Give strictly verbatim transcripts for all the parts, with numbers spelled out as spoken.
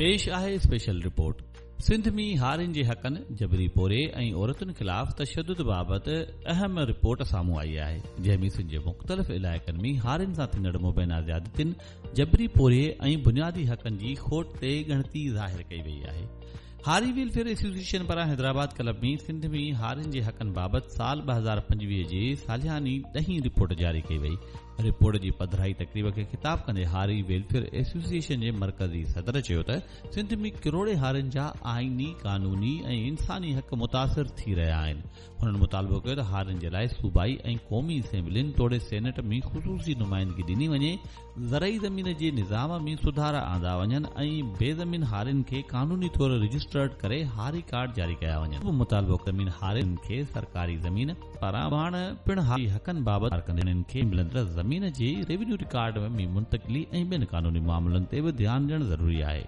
पेश आहे special report. Sindh में हारियुनि जे हक़नि, जबरी पोरे ऐं औरतुनि ख़िलाफ़ तशद्दुद बाबति अहम रिपोर्ट साम्हूं आई आहे, जंहिं में सिंध जे मुख़्तलिफ़ इलाइक़नि में हारियुनि सां थींदड़ मुबैना ज़्यादतियुनि, जबरी पोरे ऐं बुनियादी हक़नि जी खोट ते ॻणती ज़ाहिर कई वई आहे। हारी वेलफेयर एसोसिएशन पारां हैदराबाद क्लब में सिंध में हारियुनि जे हक़नि बाबति साल ॿ हज़ार पंजवीह जे सालियानी ॾहीं रिपोर्ट जारी कई वई। रिपोर्ट जी पधराई तक़रीब खे ख़िताब कंदे हारी वेलफेयर एसोसिएशन जे मरकज़ी सदर चयो त सिंध में किरोड़े हारियुनि जा आइनी, कानूनी ऐं इंसानी हक़ मुतासिर थी रहिया आहिनि। हुननि मुतालबो कयो त हारियुनि जे लाइ सूबाई ऐं क़ौमी असेंबलियुनि तोड़े सेनेट में ख़ुसूसी नुमाइंदगी ॾिनी वञे, ज़रई ज़मीन जे निज़ाम में सुधारा आंदा वञनि ऐं बेज़मीन हारियुनि खे कानूनी तौर रजिस्टर्ड करे हारी कार्ड जारी कया वञनि। मुतालबो ज़मीन हारियुनि खे सरकारी ज़मीन पारां पाण पिणु हारी हक़नि बाबति कंदे खे मिलंदड़ ज़मीन जे रेवेन्यू रिकॉर्ड में मुंतकिली ऐं ॿियनि कानूनी मामलनि ते बि ध्यानु ॾियणु ज़रूरी आहे।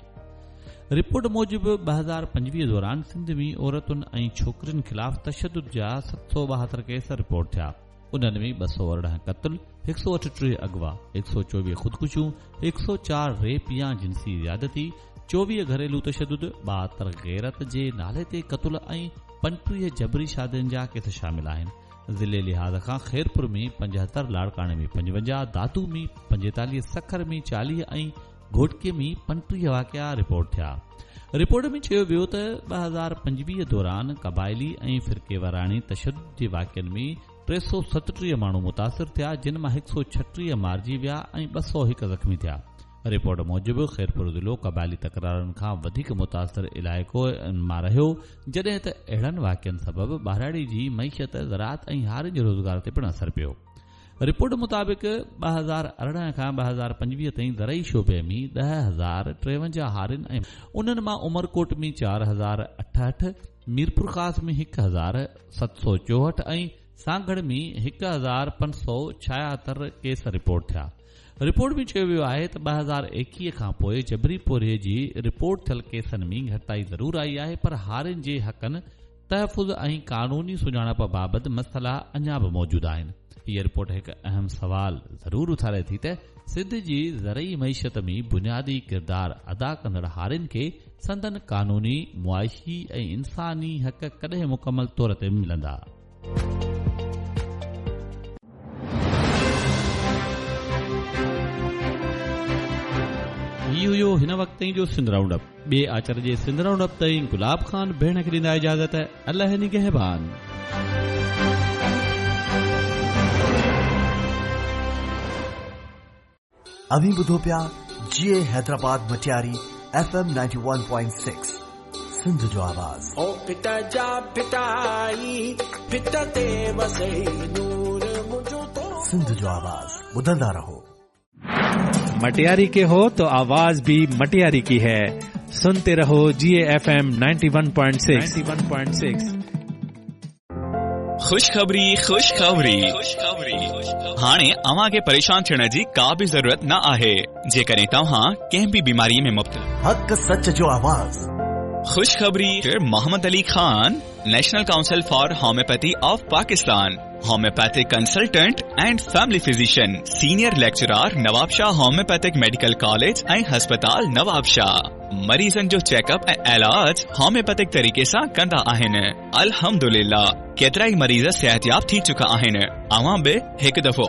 रिपोर्ट मूजिबि ॿ हज़ार पंजवीह दौरान सिंध में औरतुनि ऐं छोकिरियुनि ख़िलाफ़ तशद्दुद जा सत सौ ॿाहतरि केस रिपोर्ट थिया। उन्हनि में ॿ सौ अरिड़हं क़त्ल, हिकु सौ अठटीह अगवा, हिकु सौ चोवीह ख़ुदकुशियूं, हिकु सौ चारि रेप या जिनसी ज़्यादती, चोवीह घरेलू तशद्दुद, ॿाहतरि ग़ैरत जे नाले ते क़त्ल ऐं पंजटीह जबरी शादियुनि जा केस शामिल आहिनि। ज़िले लिहाज़ खां ख़ैरपुर में पंजहतरि, लाड़काणे में पंजवंजाह, दादू में पंजेतालीह, सखर में चालीह ऐं घोटकी में पंटीह वाक़िआ रिपोर्ट थिया। रिपोर्ट में चयो वियो त ॿ हज़ार पंजवीह दौरान क़बाइली ऐं फ़िरकेवाराणी तशद्दुद जे वाक़िअनि में टे सौ सतटीह माण्हू मुतासिर थिया, जिन मां हिकु सौ छटीह मारिजी विया ऐं ॿ सौ हिकु ज़ख़्मी थिया। रिपोर्ट मूजिबि ख़ैरपुर ज़िलो क़बाइली तकरारुनि खां वधीक मुतासिर इलाइक़ो मां रहियो, जॾहिं त अहिड़नि वाक़िअनि सबबु ॿारहाड़ी जी मईशत, ज़राअत ऐं हारियुनि जे रोज़गार ते पिणु असर पियो। रिपोर्ट मुताबिक़ ॿ हज़ार अरिड़हं खां ॿ हज़ार पंजवीह ताईं ज़रई शोबे में ॾह हज़ार टेवंजाह हारियुनि ऐं उन्हनि मां उमरकोट में चारि हज़ार अठहठि, मीरपुर ख़ास में हिकु हज़ार सत सौ चोहठि ऐं सांगड़ में हिकु हज़ार पंज सौ छायातरि केस रिपोर्ट थिया। रिपोर्ट में चयो वियो आहे त ॿ हज़ार एकवीह खां पोइ जबरी पोरे जी रिपोर्ट थियल केसनि में घटिताई ज़रूर आई आहे, पर हारियुनि जे हक़नि, तहफ़ुज़ ऐं कानूनी सुञाणप बाबति मसइला अञा बि मौजूदु आहिनि। हीअ रिपोर्ट हिकु अहम सवाल ज़रूर उथारे थी त सिंध जी ज़रई मईशत में बुनियादी किरदार अदा कंदड़ हारियुनि खे संदन कानूनी, मुआशी ऐं इंसानी हक़ कॾहिं मुकमल तौर ते मिलंदा। हीउ हुयो हिन वक़्त ताईं जो सिंध राउंड अप। ॿिए आचर जे सिंध राउंड अप ताईं गुलाब ख़ान भेण खे ॾींदा इजाज़त। अलाह निगहबान। अव्हीं ॿुधो पिया जी ए Hyderabad Matiari F M ninety one point six Sindh जो आवाज़। ओ पिता जा पिताई पित ते वसे नूर मुंहिंजो तो सिंध जो आवाज़ ॿुधंदा रहो। मटियारी के हो तो आवाज भी मटियारी की है। सुनते रहो G F M ninety one point six. खुशखबरी खुशखबरी खुशखबरी। हाणे अव्हां खे परेशान थियण जी का बि ज़रूरत न आहे। जेकॾहिं तव्हां कंहिं बि बीमारी में मुब्तला। हक़ सच जो आवाज़। खुशखबरी Mohammad Ali Khan, National Council for Homeopathy of Pakistan, homeopathic consultant and family physician, senior lecturer Nawabshah homeopathic medical college ऐं अस्पताल नवाबशाह। मरीज़नि जो चेकअप ऐं इलाज होम्योपैथिक तरीक़े सां कंदा आहिनि। अल्हम्दुलिल्लाह केतिरा ई मरीज़ सिहतयाब थी चुका आहिनि। अव्हां बि हिकु दफ़ो